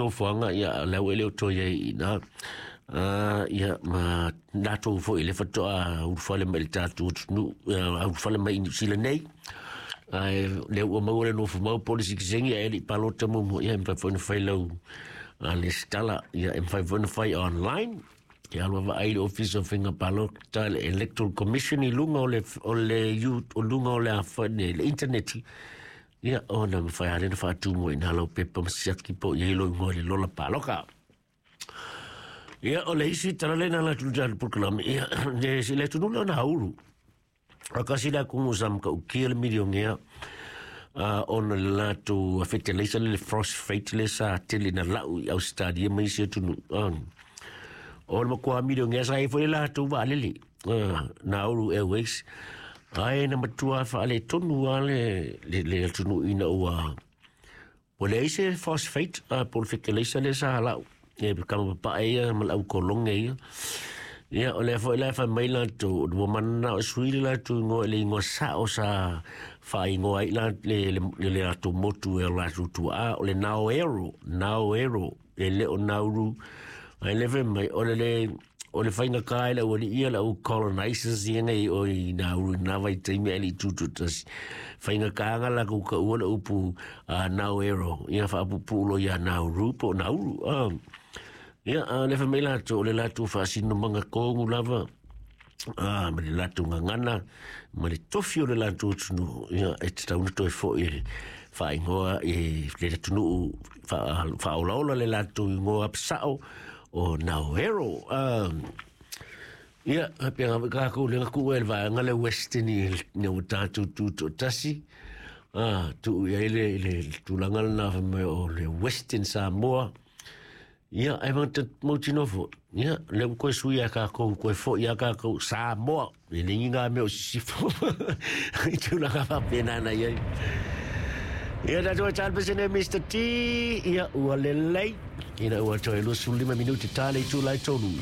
nofoaga, ia o lea ua e le o toe i ai i ina. Ia ma latou foi le faatoa ulufale mai i le tatou atunuu, ulufale mai i Niu Sila nei, ae lea ua maua le nofomau po o le sitiseni ae le i palota muamua, ia e mafai foi ona fai lau lesitala, ia e mafai foi ona fai online. E alu vaai le Ofisa o Faiga Palota, le Electoral Commission i luga o le o le o luga o le afane le internet, ia ona mafai lava lea ona faatumu ai i ina lau pepa ma siaki po o i ai lou igoa i le lola paloka. Ia, o le isi tala lena la tu tatou polokalame, ia, le le atunuu lea o Nauru. A kasi le atunuu sa matautia le milionea ona le latou feteleisa le phosphate le sa tele na lau i Australia ma isi atunuu. O le matua milionea sa i ai foi le latou vaalele, Nauru Airways, ae na matua faaletonu lava le atunuu ina ua Ua leai se phosphate po o le feteleisa lea sa lau e kama papae ia ma le au kolone ia. Ia, o lea foi la e fai mai latou, ua mananao e sui le latou igoa i le igoa sao sa faaigoa ai la le latou motu e o latou tuaa, o le Naoero, Naoero, e le o Nauru. Ae le fai mai, o le le o le faigata i le aualii ia, le au colonizers ia nei o i Nauru i na vaitaimi ae le i tutoatasi. Faigata na latou taua le upu Naoero, ia faapuupuu loa ia Nauru po o Nauru. Ia, a o le fai mai latou, o le latou faasinomaga tonu lava, ma le latou gagana ma le tofi o le latou atunuu, ia, e tatau ona toe foi e faaigoa i le atunuu faaolaola le latou igoa sao o Naoero. Ia, faapena foi tatou lea na tuu ai le vaega lea Western ina ua tatou tutoatasi, tuu i ai le tulaga lena fai mai o le Western Samoa. Ia, ae mautinoa foi, ia, lea ua toe sui a tatou, toe foi a tatou Samoa, e le ni ngā mea o sisifo. I tulaga faapena na i ai. Ia, tatou e tala pesene Mr. T, ia, ua lelei, ina ua toe 25 minuti tale i tū lai tolu.